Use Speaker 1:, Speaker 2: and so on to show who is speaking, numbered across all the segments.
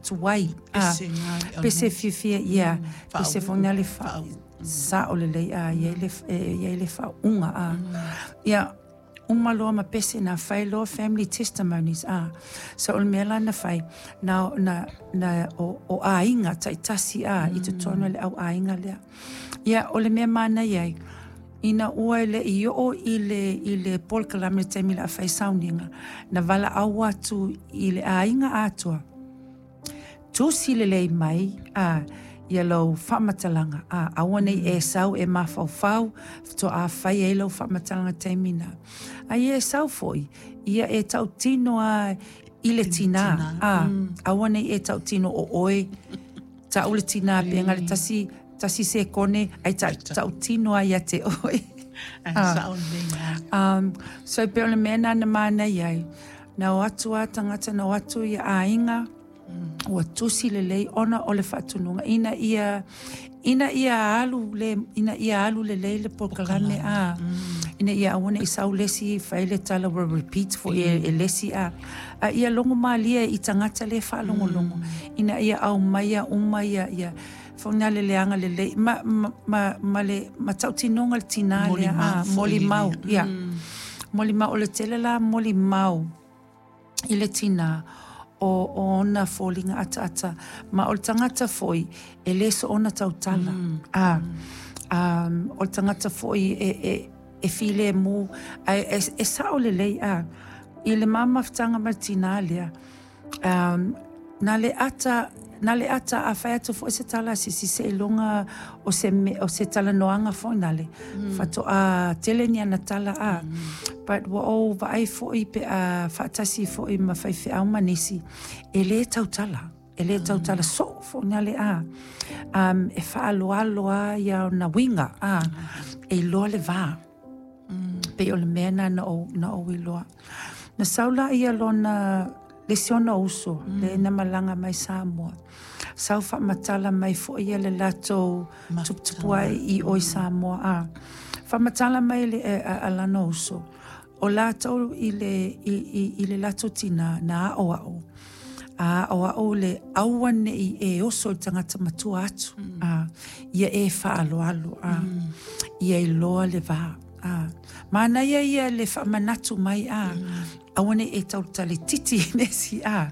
Speaker 1: tuai, a.
Speaker 2: Pese na.
Speaker 1: Pese fiafia, ia. Pese foi na le fa sa'o lelei, a, e i ai le, e i ai le faauuga, a. Ia, uma loa ma pese na fai loa family testimonies, a. So o le mea la na fai, na o aiga taitasi, a, i totonu o le au aiga lea. Ia, o le mea manaia ai, ina ua e le i oo i le polokalame le taimi la fai sauniga, na valaau atu i le aiga atoa, tusi lelei mai, a, ia lau faamatalaga, a, aua nei e sau e mafaufau faatoa fai ai lau faamatalaga taimi na. A ia e sau foi, ia e tautino a i le tinā, a, aua nei e tautino o oe, tau le tinā pe le tasi, tasi sekone, ai tautino ai ia te oe.
Speaker 2: Ai sa'o lelei.
Speaker 1: So pe o le mea na manaia ai, na o atu a tagata, na o atu ia aiga, ua tusi lelei ona o le faatunuga ina ia alu le ina ia alu lelei le polokalame, a, ina ia aua nei sau le isi fai le tala ua repeat foi e le isi, a ia logo malie i tagata le faalogologo ina ia aumaia uma ia foi na le leaga lelei ma le matautinoga le tinā lea, a, molimau, ia molimau o le tele la molimau i le tinā o ona foliga ataata ma o le tagata foi e le soona tautala, a, o le tagata foi e filemu ae e sao lelei, a, i le mamafutaga ma le tinā lea, na le ata a fai atu foi se tala sisi seiloga o se talanoaga foi na le faatoa tele ni ana tala, a. But ua ou vaai foi pe a faatasi foi ma faifeau ma nisi e le tautala, e le tautala soo foi na le, a, e faaloalo a ia ona uiga, a, e iloa le va pei o le mea na ou iloa. Na sau la ia lona le isi ona uso le na malaga mai Samoa, sau faamatala mai foi ia le latou tuputupu ai i o i Samoa, a, faamatala mai le a lana uso o latou i le latou tinā na aʻoaʻo a aʻoaʻo le aua nei e oso i le tagata matua atu, a, ia e faaloalo, a, ia iloa le va, a. Manaia ia le faamanatu mai, a, aua nei e tautale titi i nesi, a.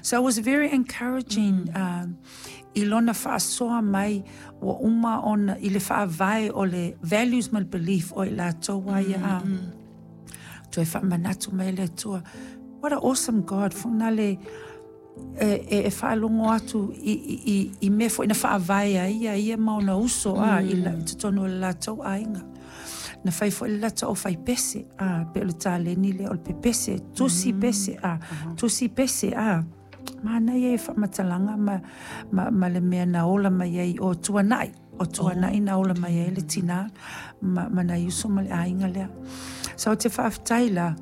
Speaker 1: So it was very encouraging i lona faasoa mai ua uma ona i le faavae o le values ma le belief o i latou a ia, a, toe faamanatu mai le Atua. What a awesome God foi na le e faalogo atu i mea foi na faavae ai ia ia ma ona uso, a, i totonu o le latou aiga. Na fai foi le latou au fai pese, a, pe o le taleni lea o le pepese, tusi pese, a, tusi pese, a. Manaia e faamatalaga ma le mea na ola mai ai o tuanai, o tuanai na ola mai ai le tinā ma nai uso ma le aiga lea. So o te faafetai la,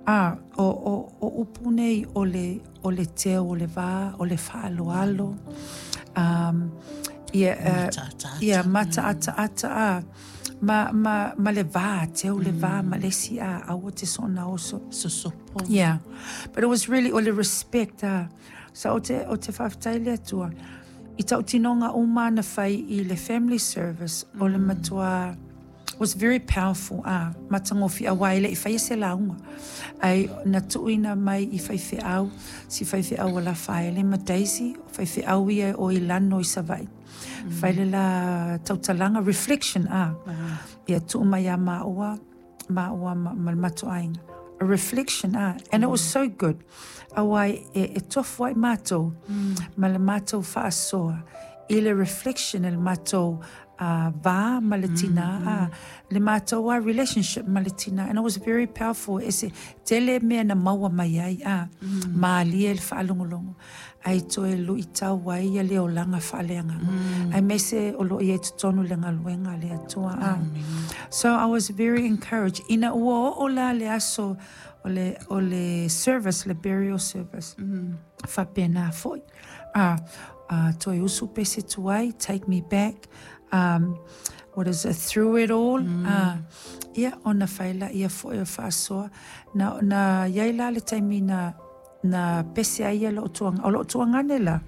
Speaker 1: a, o upu nei o le teu o le va, o le faaloalo, ia,
Speaker 2: Mataataata.
Speaker 1: Ia, mataataata, a, ma le va, teu le va ma le isi, a, aua te soona oso.
Speaker 2: Sosopo.
Speaker 1: Yeah. But it was really o le respect, ah. So o te faafetai le Atua. I tautinoga uma na fai i le family service o le matua was very powerful, ah, matagofie aua e le i faia se lauga. Ai na tuuina mai i faifeau, si faifeau o Lafaele ma Daisy, faifeau ia o i lano i Savaii. Fai le la tautalaga reflection, ah. Ia tuu mai a maua, maua ma le matou aiga. A reflection, ah, and it was so good. Aua e tofu ai matou ma le matou faasoa i le reflection e le matou va ma le tinā, ah, le matou a relationship ma le tinā. And it was very powerful. E se tele mea na maua mai ai, ah, malie le faalogologo. Ai toe luitau ai ia le olaga faaleagaga. Ai mese o loo ia i totonu le galuega le Atua. Ah. So I was very encouraged. Ina ua oo la le aso o le service, le burial service. Faapena foi. Ah, toe usu pese tuai, "Take Me Back." What is it? "Through It All." Ah, ia, ona fai la ia foi o faasoa. Na iai la le taimi na pese ai ia loo tuagane o loo tuagane la.